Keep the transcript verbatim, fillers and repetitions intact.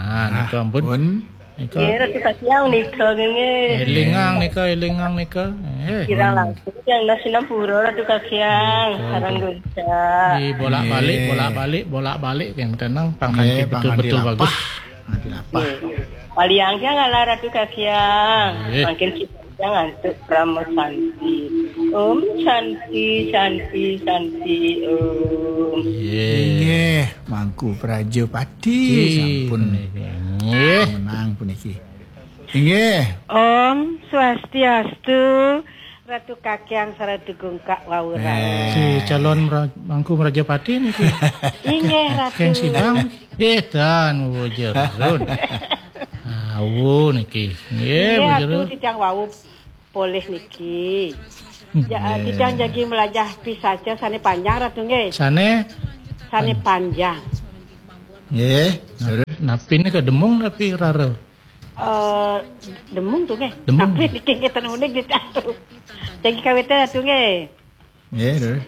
Ah, nika ampun. Pun. Nika. Nggih, Ratu Kakiang nika nggih. Elingang nika, elingang nika. Eh. Kirang langkung yang nasi nampura Ratu Kakiang. Betul, sareng betul. Gunca. Di bolak-balik, nggih, bolak-balik, bolak-balik yang tenang, pang nggih, kanti pang betul-betul kanti bagus. Lapah. Kanti lapah. Nggih. Paliang yang ala Ratu Kakiang. Nggih. Mangkin kita yang antuk Parama Santi. Om Santi, Santi, Santi, Om. Nggih. Nggih, Mangku Prajapati. Nggih, sampun. Nggih. Menang puniki. Inggih. Om Swastiastu, Ratu Kakiang sareng Ratu Gungkak wau rawuh. Eh. Si calon mra-, Mangku Prajapati niki. Inggih, Ratu. Keng sidang. Eh, tan, Bu Jerun. Awu niki. Nggih, inggih, Bu Ratu, Jerun. Titiang wau polih niki. Hmm. Ja-, nggih. Titiang jagi melajah pisaca sane panjang, Ratu, nggih. Sane? Sane pan-, panjang. Nggih, terus? Napi nika demung napi rara? Eh, demung tu nggih. Demung. Tapi niki nggih ten unik di tu. Jagi kawitan tu nggih. Nggih, terus?